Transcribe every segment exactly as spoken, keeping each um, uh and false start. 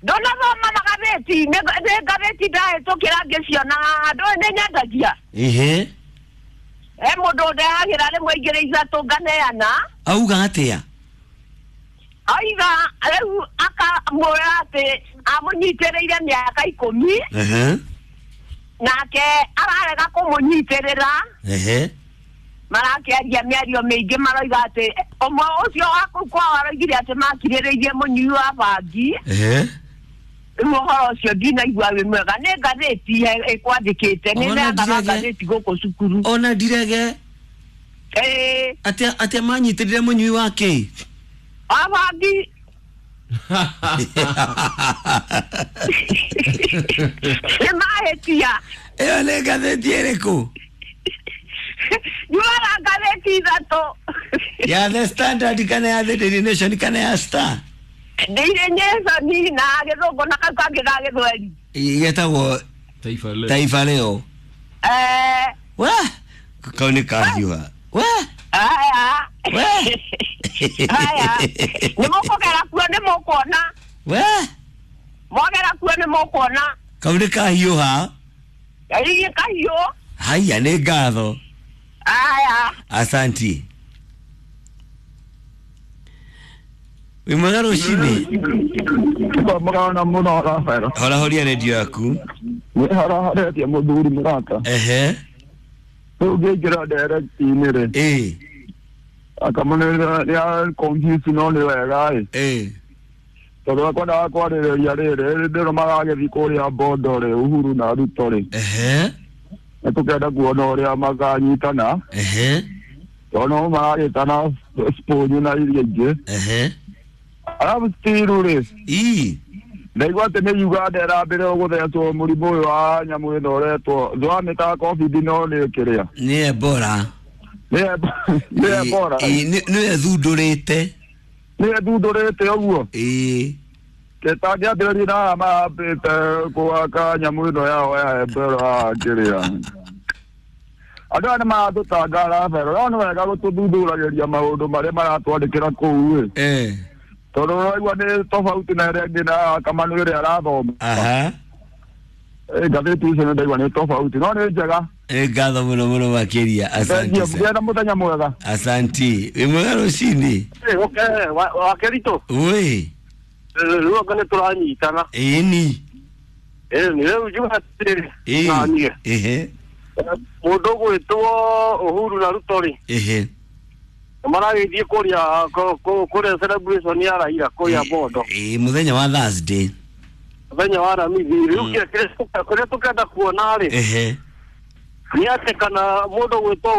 Ndonathoma magathĩti nĩ ngathĩti ndahĩtũkĩra ngĩciona haha ndũĩ nĩ nyendagia. Ehe. He mũndũ ndehagĩra rĩmwe igĩrĩ ithatũ nganeana. Auga atĩa? Aiga rĩu akamwĩra atĩ amũnyitĩrĩire mĩaka ikũmi. Ehe. Nake ararega kũmũnyitĩrĩra. Ehe. Marakĩaria mĩario mĩingĩ maroiga atĩ ũmwe ũcio wa kũu kwao aroigire atĩ makirĩrĩirie mũnyui wa bangi. Ehe. Rĩu ũhoro ũcio ndinaigua wĩ mwega nĩ ngathĩti ĩkwandĩkĩte nĩ neanaga ngathĩti gũkũ cukuru. Ona ndirege. Ĩĩ. Atĩa atĩa manyitĩrĩire mũnyui wa kĩ? Wa bangi. Nĩ mahĩtia. Ĩyo nĩ ngathĩti ĩrĩkũ? Nyuaga ngathĩti ithatũ. Ya The Standard kana ya The Daily Nation kana ya Star? Daily Nation na gĩthũngũ na kau kangĩ ga gĩthweri. Getagwo Taifa Leo. Taifa Leo. Eh. Wa kau nĩ kahiũha. Wa. Aya. We. Aya. Nĩ mũkũgera kuo nĩ mũkuona. We. Mwagera kuo nĩ mũkuona. Kau nĩ kahiũha. Ĩĩ kahiũ. Haya nĩ ngatho. Aya. Asanti. Wĩ mwega rũcinĩ? Mũgana mũno Rafael. Hora horia redio yaku. Nĩ haraharetie mũthuri mũrata. Ehe. Rĩu ngĩingĩra direct-inĩ rĩ. Ĩĩ. Akamũnĩra nĩ confuse no nĩ wega ĩ. Ĩĩ. Tondũ akwendaga kwarĩrĩria rĩrĩ rĩrĩ maragĩthiĩ kũrĩa Bondo rĩ Uhuru na Ruto rĩ. Ehe. Nĩ tũkenda kuona ũrĩa makanyitana. Ehe. Tondũ no maragĩtana sponge na iria ingĩ. Ehe. Arabu still rĩ. Ĩĩ. Ndaigua atĩ nĩ Uganda ĩrambĩrĩria gũthecwo mũrimũ ũyũ wa nyamũ ĩno ũretwo ndwamĩtaga COVID no nĩ kĩrĩa. Nĩ Ebola. Nĩ nĩ Ebola. Ĩĩ nĩ ĩthundũrĩte. Nĩ ĩthundũrĩte ũguo. Ĩĩ. Kĩtangĩambĩrĩria na mambĩte gwaka nyamũ ĩno yao ya Ebola kĩrĩa. Andũ aya nĩ maratũtanga Rafael, no nĩ wega gũtũthuthuragĩria maũndũ marĩa maratwandĩkĩra kũu ĩ. Eh. Tondũ ũraigua nĩ tofauti na ĩrĩa ĩngĩ na Kamanu ĩrĩa arathoma. Aha. Ngathĩti icio nĩ ndaigua nĩ tofauti no nĩ njega. Nĩ ngatho mũno mũno makĩria. Asante. Ngĩa na mũthenya mwega. Asanti. Wĩ mwega rũcinĩ? Okay, wa Kerito. Wĩ. Rĩu anga nĩ tũranyitana. Ĩni. Ĩĩ nĩ rĩu njuga atĩrĩrĩ. Ĩĩ. Na niĩ. Ehe. Mũndũ ũgwĩtwo Uhuru na Ruto rĩ. Ehe. Maragĩthiĩ kũrĩa kũrĩa celebration ya Raila kũrĩa Bondo. Ĩĩ mũthenya wa Thursday. Mũthenya wa Aramithi. Rĩu kĩrĩa tũkenda kuona rĩ. Ehe. Nĩ atĩ kana mũndũ ũgwĩtwo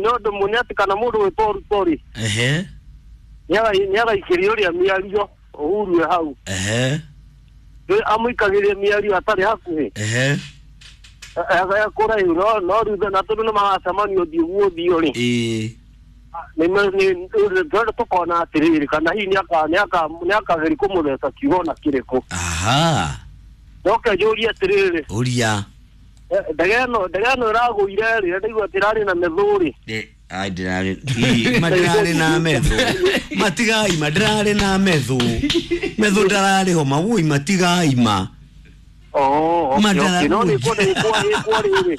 nĩ ũndũ nĩ atĩ kana mũndũ ũgwĩtwo Ruto rĩ. Ehe. Nĩ araikĩria ũrĩa mĩario Uhuru e hau. Ehe. Amũikagĩria mĩario atarĩ hakuhĩ. Ehe. Kũraihu no no rĩu na tondũ nĩ maracemania ũthiũ gwa ũthiũ rĩ. Ĩĩ. Nĩ nĩ tũkona atĩrĩrĩ kana hihi nĩ akageria kũmũtheca kiugo na kĩrĩkũ. Aha. Ndoke njũrie atĩrĩrĩ. Ũria. Ndege ĩno ndege ĩno ĩragũire rĩ ndaigua atĩ ĩrarĩ na methũ rĩ. Ai ndĩrarĩ ma ndĩrarĩ na methũ. Matigaima ndĩrarĩ na methũ. Methũ ndararĩ ho mawũi matigaima. Oh, okay, okay. No nĩ ĩkwo rĩrĩ.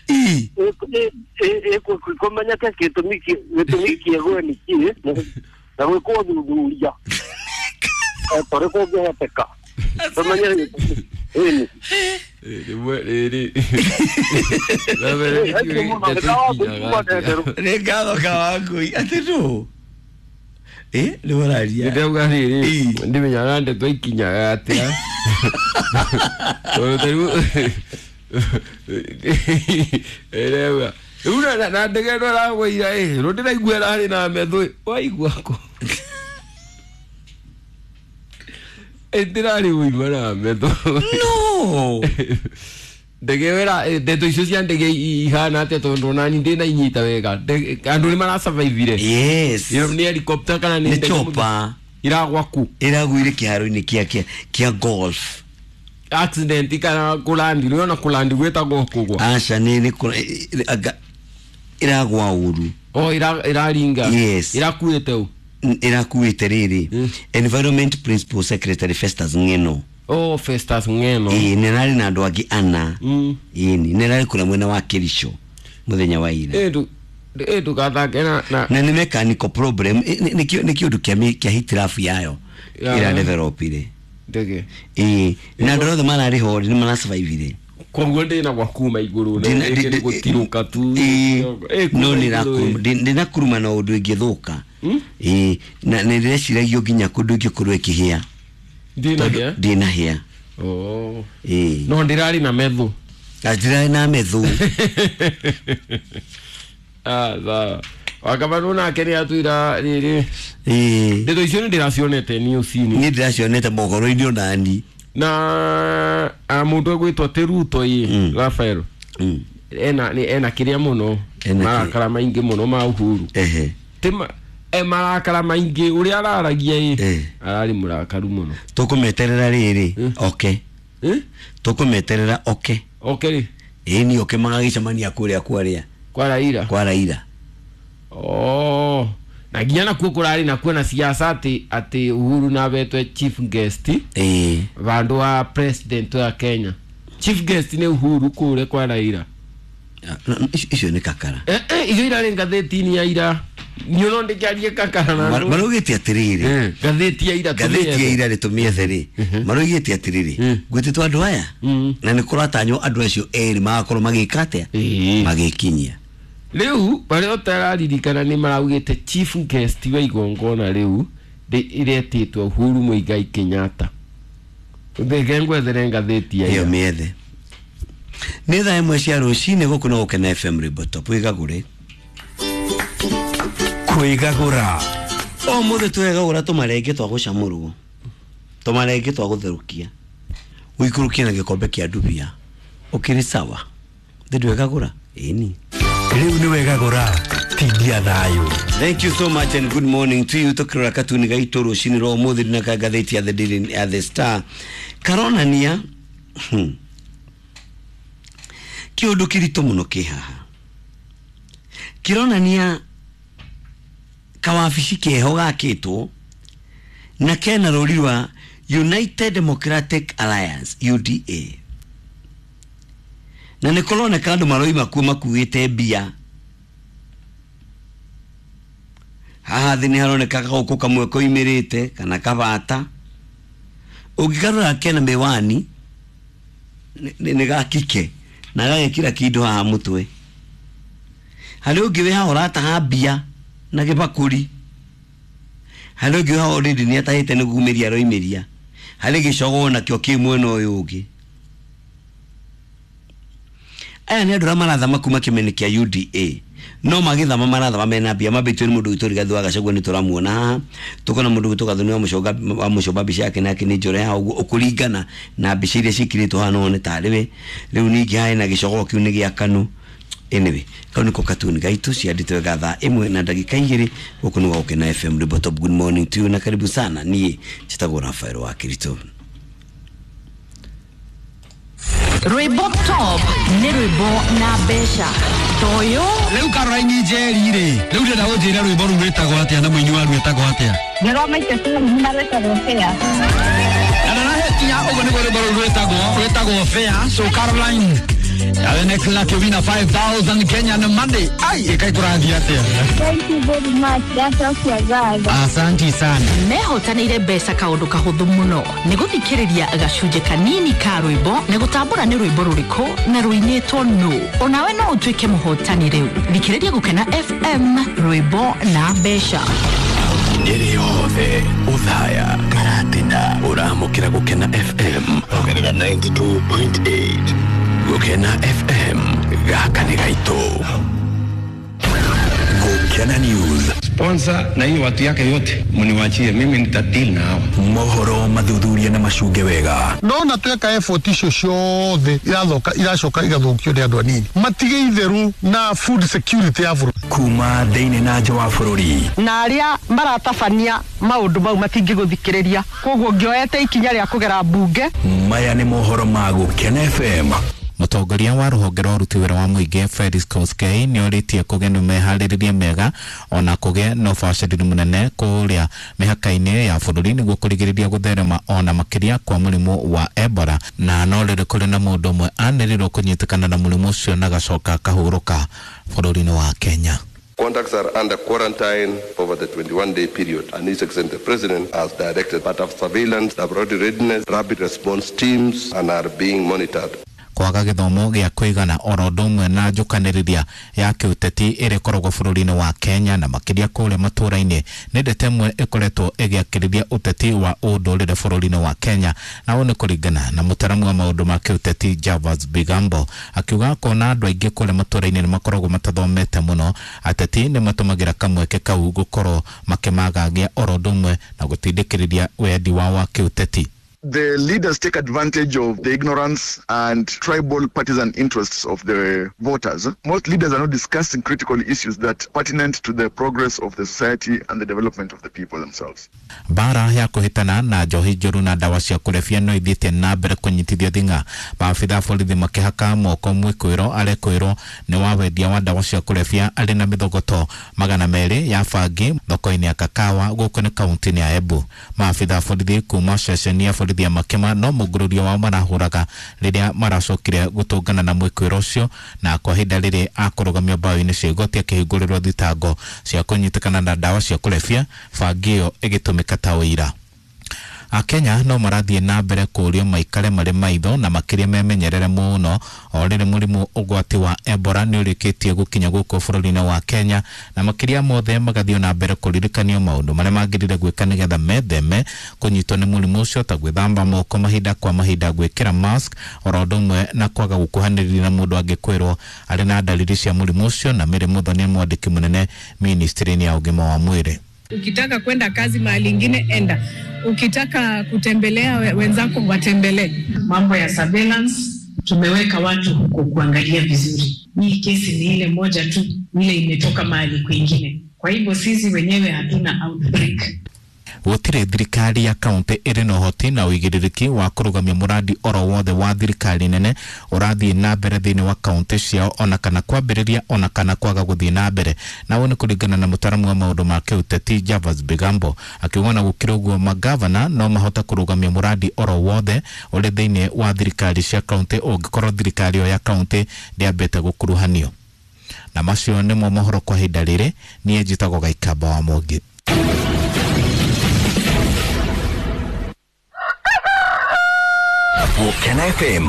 Ĩ. Kũmenyeke gĩtũmi gĩtũmi kĩegwe nĩ kĩĩ na gwĩkwo ũthuthuria torĩ kũngĩhoteka tũmenye ĩni. Rĩmwe rĩrĩ. Nĩ ngatho Kawangũi atĩ ndũ ĩ nĩ ũraria. Ndĩrauga rĩrĩ ndimenyaga ndeto ikinyaga atĩa. Tondũ ta rĩu ĩrauga rĩu na ndege ĩno ĩragũire ĩ rĩu ndĩraigua ĩrarĩ na methũ ĩ waigua kũ ĩtirarĩ ũima na methũ. No. Ndege ĩyo ĩra ndeto icio cia ndege ihana atĩa tondũ onani ndĩna inyita wega andũ nĩ marasurvivire. Yes. Nĩ helicopter kana nĩ ndege chopper iragwa ku iragwire kĩharo-inĩ kĩa kĩa golf. Accident kana kũlandi nĩ ona kũlandi gwĩtagwo kũgwa. Aca nĩ nĩ iragwa ũru. Oh ira iraringa. Yes. Irakuĩte ũ. Ĩrakuĩte rĩrĩ Environment Principal Secretary Festus Ng'eno. Oh, Festus Ng'eno. Ĩĩ, nĩ ararĩ na andũ angĩ ana. Mm. Ĩni nĩ ararĩ kũrĩa mwena wa Kericho mũthenya wa ira. Eh, ndu eh ndugathake na na Na nĩ mechanical problem, ĩ- nĩ nĩ nĩ kĩũndũ kĩa mĩ- kĩa hitilafu yayo Ya. ĩra developire. Ndege. Ĩĩ, na andũ othe mararĩ ho nĩ marasurvivire. Koguo ndina gwa kuma igũrũ na Ndina- rĩngĩ ndi- nĩ gũtirũka tu. Ĩĩ, Eh, kuma no igũrũ, nĩrakuruma ĩ. ndĩ- ndĩnakuruma na ũndũ ĩngĩthũka. Mm? Ĩĩ, na nĩ ndĩreciragio nginya kũndũ ĩngĩkorwo ĩkĩhĩa. Ndina hĩa? Ndĩnahĩa. Oh. Ĩĩ. No ndĩrarĩ na metho. Na ndirarĩ na metho. Ah, sawa. Wakamanũ nake nĩ atwĩra rĩrĩ. Ĩĩ. Ndeto icio nĩ ndĩracionete news-inĩ. Niĩ ndĩracionete mohoro-inĩ onani. Na a mũndũ egwĩtwo atĩ Ruto ĩ, Mm. Rafael. Mm. Ena nĩ ena kĩrĩa mũno. Ena kĩ- Marakara maingĩ mũno ma Uhuru. Ehe. Ti ma e marakara maingĩ ũrĩa araragia ĩ. Eh. Ararĩ mũrakaru mũno. Tũkũmeterera rĩrĩ Mm. oke. Eh? Tũkũmeterera oke. Oke rĩ. Ĩĩ, ni oke magagĩcemania kũrĩa kwarĩa Kwa Raila. kwa Raila. Oh. Na nginya nakuo kũrarĩ nakuo na siasa atĩ atĩ Uhuru na abetwe chief guest Ĩĩ. vandũ wa president wa Kenya. Chief guest nĩ Uhuru kũrĩa kwa Raila. Ah, no, no, icio icio nĩ kakara. Eh, eh, icio irarĩ ngathĩti-inĩ ya ira. Niĩ no ndĩkĩarie kakara na Mar- andũ. Maraugĩte atĩrĩrĩ, Eh, ngathĩti ya ira ngathĩti ya tũmĩethe. ira rĩ tũmĩethe rĩ, maraugĩte atĩrĩrĩ, Mm. gwĩtĩtwo andũ aya Mm. na nĩ kũratanywo andũ acio erĩ magakorwo magĩka atĩa, Ĩĩ. magĩkinyia. Rĩu barĩa ũtararirikana nĩ maraugĩte chief guest wa igongona rĩu rĩ- rĩretĩtwo Uhuru Muigai Kenyatta. Ndeke ngwethere ngathĩti ya Ĩyo ira. mĩethe. Nĩ thaa ĩmwe cia rũcinĩ gũkũ no Gũkena F M Rwĩmbo Top. Wĩgagũre. Kwĩgagũra. Ũmũthĩ twegagũra tũmarenge twa gũcamũrwo, tũmarenge twa gũtherũkia, ũikũrũkie na gĩkombe kĩa ndubia, ũkĩrĩ sawa. Thĩ ndwegagũra? Ĩni. Rĩu nĩ wegagũra tindia thayũ. Thank you so much and good morning to you. Tukirora katuni gaitũ rũcinĩ rwa ũmũthĩ na ngathĩti ya The Daily ya The Star karonania hmm, kĩũndũ kĩritũ mũno kĩ haha, kĩronania kawabici keho gakĩtwo na kena rũri rwa United Democratic Alliance U D A, na nĩ kũroneka andũ maroima kuo makuĩte mbia. Haha thĩ nĩ haroneka gagũkũ kamwe koimĩrĩte kana kabata, ũngĩkarora kena mĩwani nĩ ga kike na gagekĩra kĩndũ haha mũtwe. Harĩ ũngĩ wĩ haha ũrataha mbia na gĩbakũri, harĩ ũngĩ wĩ haha already nĩ atahĩte nĩ kumĩria aroimĩria, harĩ gĩcogoo nakĩo kĩ mwena ũyũ ũngĩ. Aya nĩ andũ arĩa marathama kuma kĩmene kĩa U D A, no magĩthama marathama mena mbia, mambĩtio nĩ mũndũ witũ Rigathĩ wa Gachagua nĩ tũramuona haha, tũkona mũndũ witũ Gathoni wa Mũchonga, wa Mũchomba mbica yake nake nĩ njore haha ũguo, ũkũringana na mbica iria ciĩkĩrĩtwo haha no wone tarĩ we. Rĩu ningĩ haha hena gĩcogoo kĩu nĩ gĩa KANU. Anyway, kau nĩko katuni gaitũ ciandĩtwo wega thaa ĩmwe na ndagĩka igĩrĩ gũkũ nĩ gwa Gũkena F M Rwĩmbo Top. Good morning to you na karibu sana. Niĩ njĩtagwo Rafael wa Kirito. Rwĩmbo Top nĩ rwĩmbo na mbeca toyo. Rĩu Caroline Njeri rĩ, rĩu ndĩrenda ũnjĩre rwĩmbo rũu rwĩtagwo atĩa na mũini waruo etagwo atĩa? Ndĩromaite Salome na rwĩtagwo Fair. Na ndarahetia ũguo nĩguo rwĩmbo rũu rwĩtagwo, rwĩtagwo Fair. So Caroline, the next lucky winner five thousand Kenyan money. Ai, ĩkai kũrathiĩ atĩa? Thank you very much. Ndacokia ngatho. Asanti sana. Mehotanĩire mbeca kaũndũ kahũthũ mũno nĩ gũthikĩrĩria gacunjĩ kanini ka rwĩmbo na gũtambũra nĩ rwĩmbo rũrĩkũ na rũinĩtwo nũ. Onawe no ũtuĩke mũhotani rĩu. Thikĩrĩria Gũkena F M rwĩmbo na mbeca. Nyeri yothe Othaya Karatina ũramũkĩra Gũkena F M ongerera ninety-two point eight. Gũkena F M gaka nĩ gaitũ. Gũkena News. Sponsor na hiyo watu yake yote mniwachie mimi, nitadeal na hawa. Mohoro mathuthuria na macunge wega. Ndona tweka effort icio ciothe irathoka iracoka igathũkio nĩ andũ anini. Matige itheru na food security ya bũrũri. Kuma thĩinĩ na nja wa bũrũri. Na arĩa maratabania maũndũ mau matingĩgũthikĩrĩria. Koguo ngĩoete ikinya rĩa kũgera mbunge. Maya nĩ mohoro ma Gũkena F M. Mũtongoria wa rũhonge rwa ũruti wĩra wa mũingĩ Felix Koskei nĩorĩtie kũgĩe na meharĩrĩria mega ona kũgĩe na ũbacĩrĩri mũnene kũrĩa mĩhaka-inĩ ya bũrũri nĩguo kũrigĩrĩria gũtherema ona makĩria kwa mũrimũ wa Ebola, na no rĩrĩ kũrĩ na mũndũ ũmwe anĩrĩrwo kũnyitĩkana na mũrimũ ũcio na gacoka akahurũka bũrũri-inĩ wa Kenya. Contacts are under quarantine over the twenty-one day period, and His Excellency the President has directed part of surveillance, laboratory readiness, rapid response teams, and are being monitored. Kwaga gĩthomo gĩa kũigana oro ũndũ ũmwe na njũkanĩrĩria ya kĩũteti ĩrĩa ĩkoragwo bũrũri-inĩ wa Kenya na makĩria kũrĩa matũũra-inĩ nĩ ndeto ĩmwe ĩkoretwo ĩgĩakĩrĩria ũteti wa ũndũrĩre bũrũri-inĩ wa Kenya, na ũũ nĩ kũringana na mũtaramu wa maũndũ ma kĩũteti Javas Bigambo akiuga kona andũ aingĩ kũrĩa matũũra-inĩ nĩ makoragwo matathomete mũno, ateti nĩ matũmagĩra kamweke kau gũkorwo makĩmagagia oro ũndũ ũmwe na gũtindĩkĩrĩria wendi wao wa kĩũteti. The leaders take advantage of the ignorance and tribal partisan interests of the voters. Most leaders are not discussing critical issues that pertinent to the progress of the society and the development of the people themselves. Bara ya kuhitana na njohi njũru na ndawa cia kũrebia no ithiĩte na mbere kũnyitithio thing'a. Maabitha a borithi makĩhaka moko mwĩkwĩrwo arekwĩrwo nĩ wa wendia wa ndawa cia kũrebia arĩ na mĩthogoto magana merĩ ya bangi thoko-inĩ ya Kakawa gũkũ nĩ kaunti-inĩ ya Embu. Maabitha a borithi kuma ceceni ya borithi ya Makema no mũngũrũrio wao marahũraga rĩrĩa maracokire gũtũngana na mwĩkwĩrwo ũcio, na kwa ihinda rĩrĩ akũrũgamio mbaũ-inĩ cia igoti akĩhingũrĩrwo thitango cia kũnyitĩkana na ndawa cia kũrebia, bangi ĩyo ĩgĩtũmĩka ta ũira. Akenya no marathiĩ na mbere kũũrio maikare marĩ maitho na makĩria memenyerere mũno o rĩrĩ mũrimũ ũgwati wa Ebola nĩ ũrĩkĩtie gũkinya gũkũ bũrũri-inĩ wa Kenya, na makĩria mothe magathiĩ na mbere kũririkanio maũndũ marĩa magĩrĩire gwĩka nĩgetha metheme kũnyitwo nĩ mũrimũ ũcio ta gwĩthamba moko mahinda kwa mahinda, gwĩkĩra mask oro ũndũ ũmwe na kwaga gũkuhanĩrĩria na mũndũ angĩkwĩrwo arĩ na dalili cia mũrimũ ũcio. Na Mary Muthoni nĩ mwandĩki mũnene ministry-inĩ ya ũgima wa mwĩrĩ. Ukitaka kwenda kazi mahali ingine enda, ukitaka kutembelea wenzako watembelee. Mambo ya surveillance tumeweka watu huko kuangalia vizuri. Hii kesi ni ile moja tu, ile imetoka mahali kwingine. Kwa hivyo sisi wenyewe hatuna outbreak. Gũtirĩ thirikari ya kaunti ĩrĩ na ũhoti na ũigĩrĩrĩki wa kũrũgamia mũradi oro wothe wa thirikari nene ũrathiĩ na mbere thĩinĩ wa kaunti ciao ona kana kwambĩrĩria ona kana kwaga gũthiĩ na mbere, na ũũ nĩ kũringana na mũtaramu wa maũndũ ma kĩũteti Javas Bigambo akiuga na gũkĩrĩ ũguo magavana no mahote kũrũgamia mũradi oro wothe ũrĩ thĩinĩ wa thirikari cia kaunti ũngĩkorwo thirikari ĩyo ya kaunti ndĩambĩte gũkuruhanio. Na macio nĩmo mohoro kwa ihinda rĩrĩ. Niĩ njĩtagwo Gaikamba wa Mũngĩ. Gukena F M.